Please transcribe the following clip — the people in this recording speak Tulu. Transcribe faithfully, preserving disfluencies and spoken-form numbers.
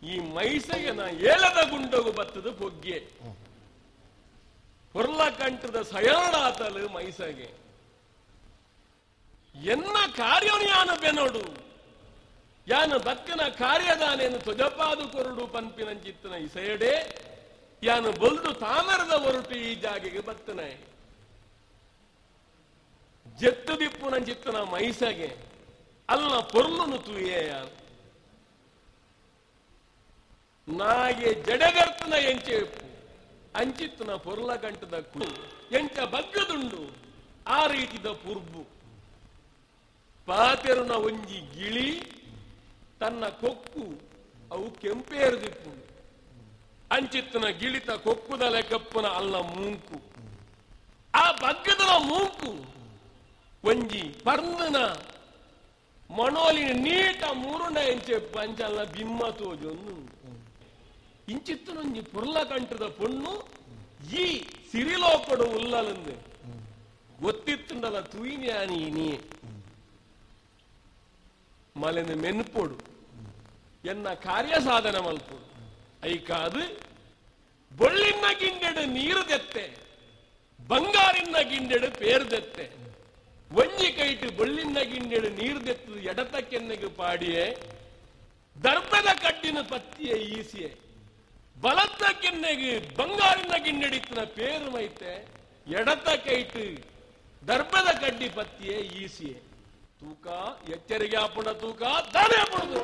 ಈ ಮೈಸೆಗೆನ ಏಲದ ಗುಂಡಗು ಬತ್ತದು ಪೊಗ್ಗೆ ಪೊರ್ಲ ಕಂಠದ ಸಯಾಣಾತಲು ಮೈಸಗೆ ಎನ್ನ ಕಾರ್ಯನು ಯಾನು ಬೆನೋಡು ಯಾನು ಬಕ್ಕನ ಕಾರ್ಯದಾನೇನು ತೊಜಪಾದು ಕೊರಡು ಪನ್ಪಿನಂಚಿತ್ತನ ಇಸೆಯಡೆ ಯಾನು ಬೊಲ್ದು ತಾಮರದ ಒರಟು ಈ ಜಾಗೆಗೆ ಬತ್ತನೆ ಜೆತ್ತು ದಿಪ್ಪುನಂಚಿತ್ತನ ಮೈಸಗೆ ಅಲ್ಲ ಪೊರ್ಲುನು ತೂಯೇ ಯಾನು ನಾಗೆ ಜಡಗರ್ತನ ಎಂಚೆ ಅಂಚಿತ್ತನ ಪೊರ್ಲ ಗಂಟದ ಕು ಎಂಚ ಬಗ್ಗದುಂಡು ಆ ರೀತಿದ ಪುರ್ಬು ಪಾತೆರುನ ಒಂಜಿ ಗಿಳಿ ತನ್ನ ಕೊಕ್ಕು ಅವು ಕೆಂಪೇರುದಿಪ್ಪು ಅಂಚಿತ್ತನ ಗಿಳಿತ ಕೊಕ್ಕುದಲೆ ಕಪ್ಪುನ ಅಲ್ಲ ಮೂಂಕು ಆ ಬಗ್ಗದನ ಮೂಂಕು ಒಂಜಿ ಪರ್ಂದನ ಮಣೋಲಿನ ನೀಟ ಮೂರುನ ಎಂಚೆ ಪಂಚಲ್ಲ ಬಿಮ್ಮ ತೋಜೊಂದು ಇಂಚಿತ್ತನೊಂಜಿ ಪೊರ್ಲ ಕಂಠದ ಪೊಣ್ಣು ಈ ಸಿರಿಲೋಕಡು ಉಲ್ಲಲಂದು ಗೊತ್ತಿತ್ತುಂಡಲ ತೂಯಿನ್ಯಾನಿ ನೀ ಮಲೆನ ಮೆನ್ಪೊಡು ಎನ್ನ ಕಾರ್ಯ ಸಾಧನೆ ಮಲ್ಪೊಡು ಐಕಾದು ಬೊಳ್ಳಿನ ಗಿಂಡೆಡು ನೀರು ದೆತ್ತೆ ಬಂಗಾರಿನ ಗಿಂಡೆಡು ಪೇರು ದೆತ್ತೆ ಒಂಜಿ ಕೈಟು ಬೊಳ್ಳಿನ ಗಿಂಡೆಡು ನೀರು ದೆತ್ತು ಎಡತ ಕೆನ್ನೆಗೆ ಪಾಡಿಯೇ ದರ್ಬದ ಕಡ್ಡಿನ ಪತ್ತಿಯ ಈಸಿಯೇ ಬಲತ್ತ ಕೆನ್ನೆಗೆ ಬಂಗಾರಿನ ಗಿಂಡೆಡಿತ್ತಿನ ಪೇರು ಮೈತೆ ಎಡತ ಕೈಟು ದರ್ಬದ ಕಡ್ಡಿ ಪತ್ತಿಯೇ ಈಸಿಯೇ ತೂಕ ಎಚ್ಚರಿಗೆ ಆಪುಣ ತೂಕ ದಾನೆ ಆಪುಣದು.